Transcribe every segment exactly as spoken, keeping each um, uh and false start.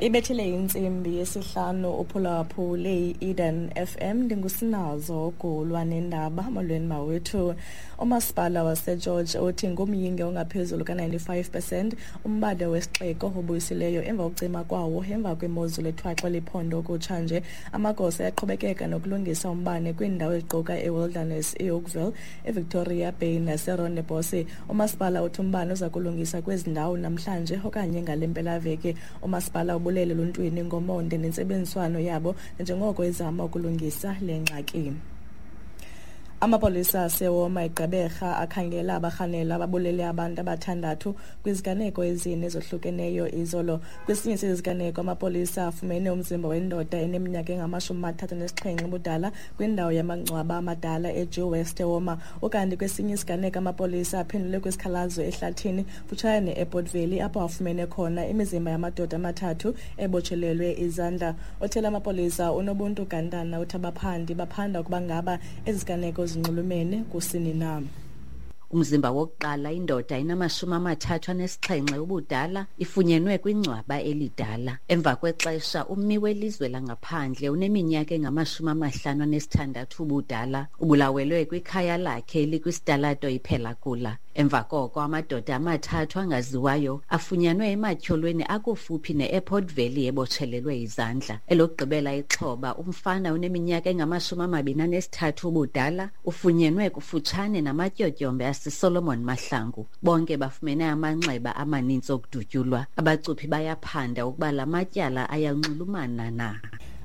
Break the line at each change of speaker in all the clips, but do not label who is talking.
Ibethile intsimbi yesihlanu uphulaphule i-Eden F M. Ndingusinazo Gulwa nendaba. Molweni mawethu. Umasipala waseGeorge uthi ngumyinge ongaphezulu ka-ninety-five percent umbane wesixeko obuyisileyo emva kokucima kwawo emva kwemozulu ethwaxa liphondo kutshanje. Amagosa ayaqhubekeka nokulungisa umbane kwiindawo eziquka eWilderness, eOakville, eVictoria Bay naseRondebosch. Umasipala uthi umbane uza kulungisa kwezi ndawo namhlanje okanye ngale mpelaveki. Umasipala ubulele eluntwini ngomonde nentsebenziswano yabo njengoko ezama ukulungisa le ngxaki. Amapolisa asewoma eGqeberha akhangela abarhanelwa ababulele abantu abathandathu kwiziganeko ezine ezohlukeneyo izolo. Kwesinye seziganeko, amapolisa afumene umzimba wendoda eneminyaka engamashumi amathathu anesixhenxe ubudala kwindawo yamangcwaba amadala eJew West eWoma. Ukanti kwesinye isiganeko, amapolisa aphendule kwisikhalazo ehlathini kufutshane ne-Airport Valley, apho afumene khona imizimba yamadoda amathathu ebotshelelwe izandla. Othela amapolisa uNobuntu Gantana uthi abaphandi baphanda ukuba ngaba ezi ziganeko zinxulumene kusini na.
Umzimba wokuqala, indoda inamashumi amathathu anesixhenxe ubudala, ifunyenwe kwingcwaba elidala. Emva kwexesha, ummi welizwe langaphandle uneminyaka engamashumi amahlanu anesithandathu ubudala ubulawelwe kwikhaya lakhe elikwisitalato iPhelakula. Emva koko, amadoda amathathu angaziwayo afunyanwe ematyholweni akufuphi ne-Airport Valley ebotshelelwe izandla. Elokugqibela ixhoba, umfana oneminyaka engamashumi amabini anesithathu ubudala, ufunyenwe kufutshane namatyotyombe aseSolomon Mahlangu. Bonke bafumene amanxeba amaninzi okudutyulwa. Abacuphi bayaphanda ukuba la matyala ayanxulumana na.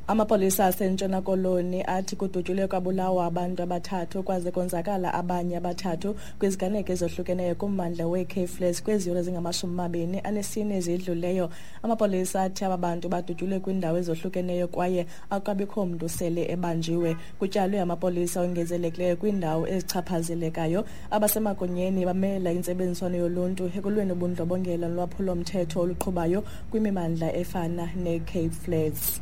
Amapolisa aseNtshona Koloni athi kudutyulwe kwabulawa abantu abathathu kwaze konzakala abanye abathathu kwiziganeko ezohlukeneyo kummandla weeCape Flats kwezi yure zingamashumi mabini anesine ezidluleyo. Amapolisa athi aba bantu badutyulwe kwiindawo ezohlukeneyo kwaye akukabikho mntu sele ebanjiwe. Kutyalwe amapolisa ongezelekileyo kwiindawo ezichaphazelekayo. Abasemagunyeni bamela intsebenziswano yoluntu ekulweni ubundlobongela nolwaphulomthetho oluqhubayo kwimimandla efana neCape Flats.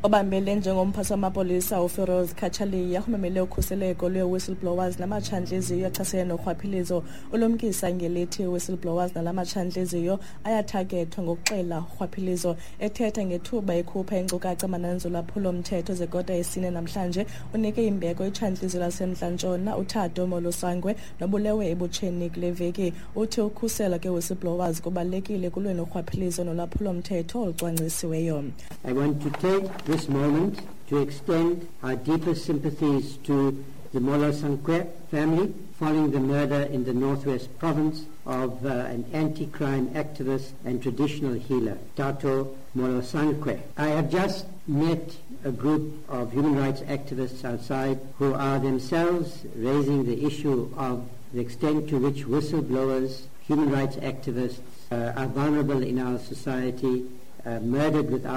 Obambele njengomphathi wamapolisa uFiroz Cachalia umemele ukhuseleko lwee-whistleblowers namatshantliziyo achasene norhwaphilizo. Ulumkisa ngelithi whistleblowers nalamatshantliziyo ayathagethwa ngokuxela urhwaphilizo. Ethetha ngethuba ekhupha iinkcukacha manani zolwaphulomthetho zekota yesine namhlanje, unike imbeko itshantliziyo laseMntla-Ntshona uThato Molosangwe nobulewe ebutsheni kule veki. Uthi ukhusela kwe-whistleblowers kubalulekile kulweni urhwaphilizo nolwaphulomthetho olucwangcisiweyo.
I want to take this moment to extend our deepest sympathies to the Molosankwe family following the murder in the Northwest Province of uh, an anti-crime activist and traditional healer, Tato Molosankwe. I have just met a group of human rights activists outside who are themselves raising the issue of the extent to which whistleblowers, human rights activists uh, are vulnerable in our society, uh, murdered without